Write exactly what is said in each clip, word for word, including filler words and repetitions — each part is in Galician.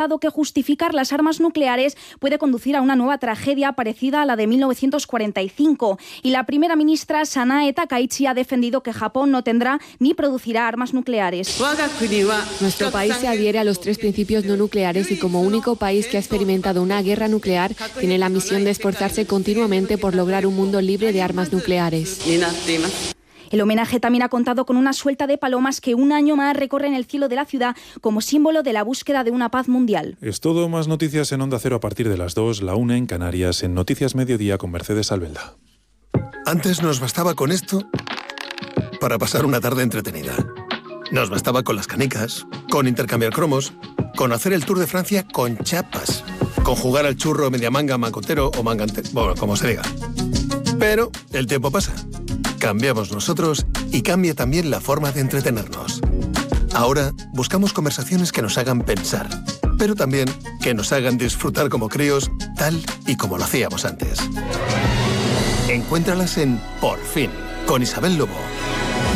que justificar las armas nucleares puede conducir a una nueva tragedia parecida a la de mil novecientos cuarenta y cinco. Y la primera ministra Sanae Takaichi ha defendido que Japón no tendrá ni producirá armas nucleares. Nuestro país se adhiere a los tres principios no nucleares y como único país que ha experimentado una guerra nuclear tiene la misión de esforzarse continuamente por lograr un mundo libre de armas nucleares. El homenaje también ha contado con una suelta de palomas que un año más recorren el cielo de la ciudad como símbolo de la búsqueda de una paz mundial. Es todo, más noticias en Onda Cero a partir de las dos, la una en Canarias, en Noticias Mediodía con Mercedes Albelda. Antes nos bastaba con esto para pasar una tarde entretenida. Nos bastaba con las canicas, con intercambiar cromos, con hacer el Tour de Francia con chapas, con jugar al churro media manga, mangotero o mangante, bueno, como se diga. Pero el tiempo pasa. Cambiamos nosotros y cambia también la forma de entretenernos. Ahora buscamos conversaciones que nos hagan pensar, pero también que nos hagan disfrutar como críos, tal y como lo hacíamos antes. Encuéntralas en Por Fin, con Isabel Lobo.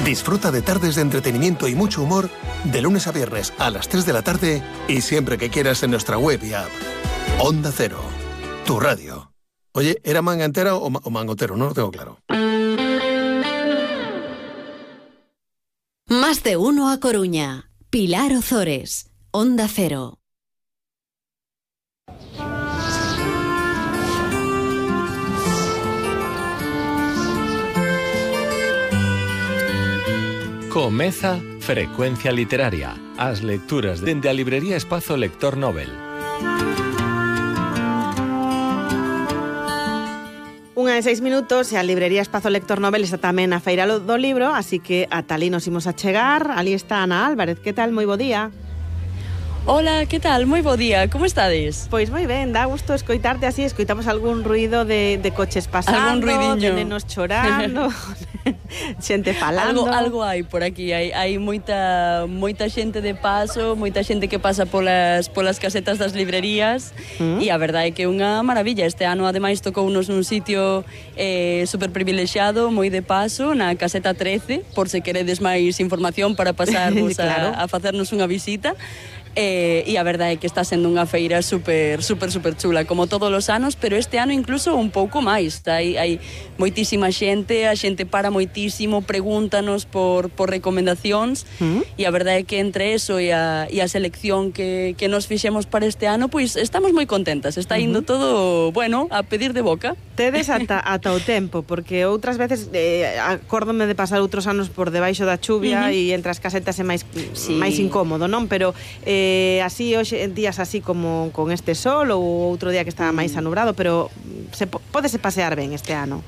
Disfruta de tardes de entretenimiento y mucho humor de lunes a viernes a las tres de la tarde y siempre que quieras en nuestra web y app. Onda Cero, tu radio. Oye, ¿era manga entera o, ma- o mangotero? No lo tengo claro. Más de uno a Coruña. Pilar Ozores, Onda Cero. Comeza Frecuencia Literaria, as lecturas dende a librería Espazo Lector Nobel. Unha de seis minutos e a librería Espazo Lector Nobel está tamén a feira do libro, así que ata ali nos imos a chegar. Ali está Ana Álvarez, que tal? Moi bo día. Hola, que tal? Moi bo día, como estades? Pois moi ben, dá gusto escoitarte así, escoitamos algún ruido de, de coches pasando, de nenos chorando, xente falando. Algo, algo hai por aquí, hai, hai moita, moita xente de paso, moita xente que pasa polas, polas casetas das librerías mm. e a verdade é que é unha maravilla. Este ano ademais tocounos nun sitio eh, super privilexiado, moi de paso, na caseta trece, por se queredes máis información para pasarvos claro. a, a facernos unha visita. Eh, e a verdade é que está sendo unha feira super, super, super chula, como todos os anos, pero este ano incluso un pouco máis. Hai, hai moitísima xente, a xente para moitísimo, pregúntanos por, por recomendacións, ¿Mm? E a verdade é que entre eso e a, e a selección que, que nos fixemos para este ano, pois estamos moi contentas, está indo uh-huh. todo, bueno, a pedir de boca. Tedes ata, ata o tempo, porque outras veces eh, acórdome de pasar outros anos por debaixo da chuvia uh-huh. e entre as casetas é máis, sí. máis incómodo, non? Pero eh, así, hoxe, en días así como con este sol ou outro día que estaba máis anubrado, pero se, pódese pasear ben este ano.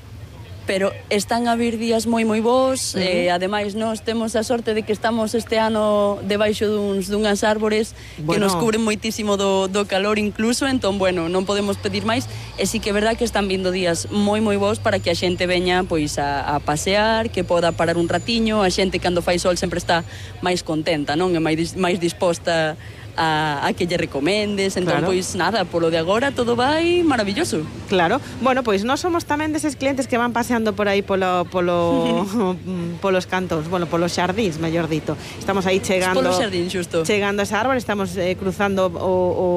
Pero están a vir días moi moi bons, uh-huh. eh, ademais nós temos a sorte de que estamos este ano debaixo duns, dunhas árbores bueno. que nos cubren moitísimo do, do calor incluso, entón, bueno, non podemos pedir máis, e sí que é verdad que están vindo días moi moi bons para que a xente veña pois a, a pasear, que poda parar un ratiño, a xente cando fai sol sempre está máis contenta, non? É máis, máis disposta A, a que lle recomendes, entón, claro. pois nada, polo de agora todo vai maravilloso. Claro, bueno, pois nós somos tamén deses clientes que van paseando por aí polo, polo, polos cantos, bueno, polos xardíns, mellor dito. Estamos aí chegando Polos xardín, xusto. Chegando a esa árbore, estamos eh, cruzando o, o,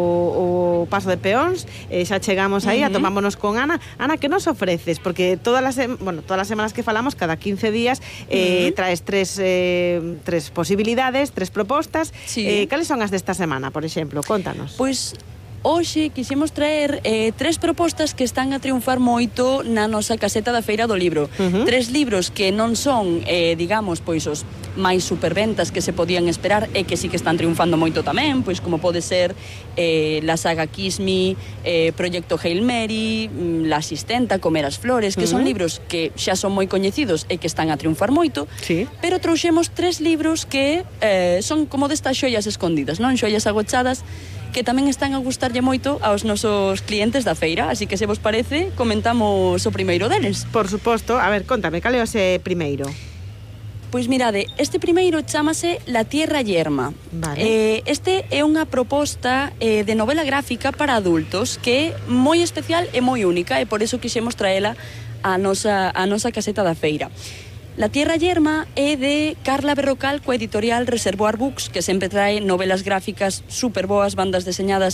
o paso de peóns, eh, xa chegamos aí, uh-huh. a tomámonos con Ana. Ana, que nos ofreces? Porque todas as, bueno, todas as semanas que falamos, cada quince días, eh, uh-huh. traes tres, eh, tres posibilidades, tres propostas. Sí. Eh, cales son as desta semana? Por exemplo, contanos. Pois hoxe quixemos traer eh, tres propostas que están a triunfar moito na nosa caseta da Feira do Libro. Uh-huh. Tres libros que non son, eh, digamos, pois os máis superventas que se podían esperar e que sí que están triunfando moito tamén, pois como pode ser eh, la saga Kiss Me, eh, Proyecto Hail Mary, La Asistenta, Comer as Flores, que uh-huh. son libros que xa son moi coñecidos e que están a triunfar moito, sí. pero trouxemos tres libros que eh, son como destas xoias escondidas, non? Xoias agochadas que tamén están a gustarlle moito aos nosos clientes da feira, así que se vos parece, comentamos o primeiro deles. Por suposto, a ver, contame, cal é o ese primeiro? Pois mirade, este primeiro chámase La Tierra Yerma. Vale. Eh, este é unha proposta eh, de novela gráfica para adultos que é moi especial e moi única, e por iso quixemos traela a nosa, a nosa caseta da feira. La Tierra Yerma é de Carla Berrocal coa editorial Reservoir Books, que sempre trae novelas gráficas super boas, bandas deseñadas